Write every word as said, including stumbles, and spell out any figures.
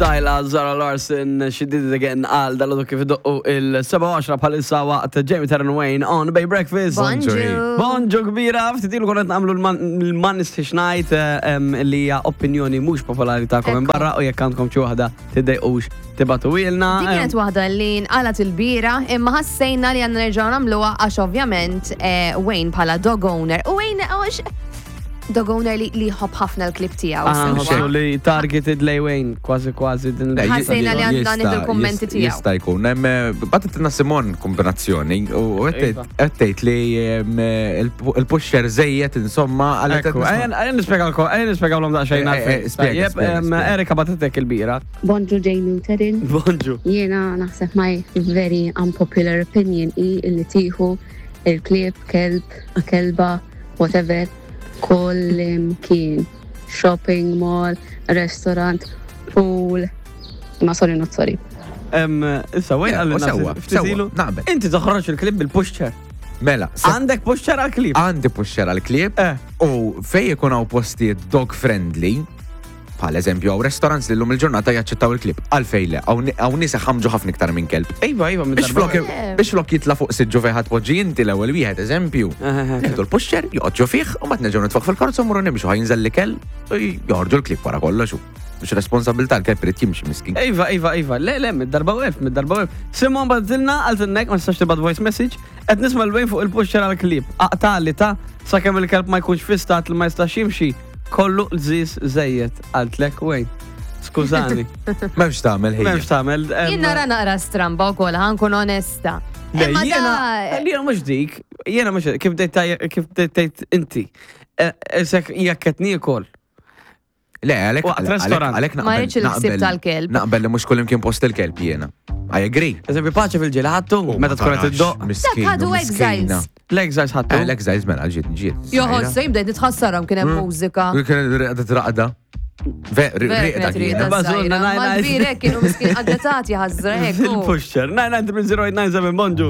Tyla, Zara Larsson, She Did It Again, għal dal kif idoqqu il-seba għaxra bħalissa waqt Jamie Taryn Wayne on Bay Breakfast. Bonġu. Bonġu kbira, ftit ilu konna nagħmlu l-Man Night li hija opinjoni mhux popolari tagħkom minn Ekku. barra u jekk għandkom xi waħda tiddejqux tibagħtuhielna. Din kienet waħda li nqalat il-bira, imma ħassejna li għandna nerġgħu nagħmluha għax ovvjament eh, Wayne bħala dog owner. U Wayne għax dog owner li li jħobb ħafna l-klieb tiegħu. Ah, sewwa. nħossu li targeted lej Wayne, kważi kważi din. Le, Ħassejna li għandna jista- nieħdu l-kummenti jista- tiegħu. Jista' jkun. Hemm, eh, Bagħtitilna Simon kombinazzjoni u Iva. qed tgħid li em, il- il-pushchair żejjed insomma għal Ekku, ejja nispjegalkom, ejja nispjegawlhom daqsxejn Eh, eh, għalfejn. Spjega, Tajjeb, spjega, em, spjega. Erika bagħtitek il-bira. Bonġu Jamie u Terin. Bonġu. Jiena naħseb my very unpopular opinion i illi tieħu il-klieb, kelb, kelba, whatever, kullimkien. Shopping mall, restaurant, pool. Ma sorry, not sorry. Em, Issa, Wayne Yeah, għalli u sewwa, ftit ilu. sewwa, naqbel. Inti toħroġ il-klieb bil-pushchair. Mela, se- Għandek pushchair għal-klieb? għandi pushchair għal-klieb Eh. u fej ikun hawn postijiet dog friendly, bħal eżempju hawn restaurants li llum il-ġurnata jaċċettaw il-klieb. Għalfejn le, hawn nies ħamġu ħafna iktar minn kelb. Iva, iva, minn Biex darba. flok biex flok jitla fuq siġġu fejn ħadd poġġi inti l-ewwel wieħed eżempju. Eh, eh, eh. Nieħdu l-pushchair, joqgħod fih u mbagħad nerġgħu nitfgħu fil-karozza u mmorru nimxu ħa jinżel l-ikel u joħorġu l-klieb wara kollox. Mhux responsabilità l-kelb irid jimxi miskin. Iva, iva, iva, le, le, mid-darba u elf, mid-darba u elf. Simon bagħtilna, għaltinnek, ma nistax tibgħat voice message, qed nisma' 'l Wayne fuq il-pushchair għal-klieb. Aqtali ta' sakemm il-kelb ma jkunx fi stat li ma jistax jimxi. Kollu l-żis żejjed, qaltlek Wayne. Skużani. M'hemmx tagħmel ħija. M'hemmx tagħmel. em, Jien nara naqra stramba wkoll, ħa nkun onesta. Le, Imma jiena, da- jiena mhux dik, jiena mhux kif bdejt taj- kif bdejt tgħid inti. Eh, Isek jekk qed niekol. Le, għalek, Waqt restaurant. għalek Ma naqbel. rridx il-ħsieb naqbel- tal-kelb. Naqbel li mhux kullimkien post il-kelb jiena. I agree. Eżempju, paċe fil-ġieli ħadtu, meta tkun qed iddoq. Miskin, Dak ħadu miskina. Exiles. L-Exiles ħadtu. Eh, L-Exiles mela ġiet ġiet. Joħossu jibda nitħassarhom kien hemm mużika. Kien raqda raqda. Ve, Vera riqda kienet kienet. riqda Bażunna, żgħira. nine, Ma nine. l-kbirek kienu miskin għaddatati ħażra hekk. Il-pushchair. nine nine zero eight nine seven, bonġu.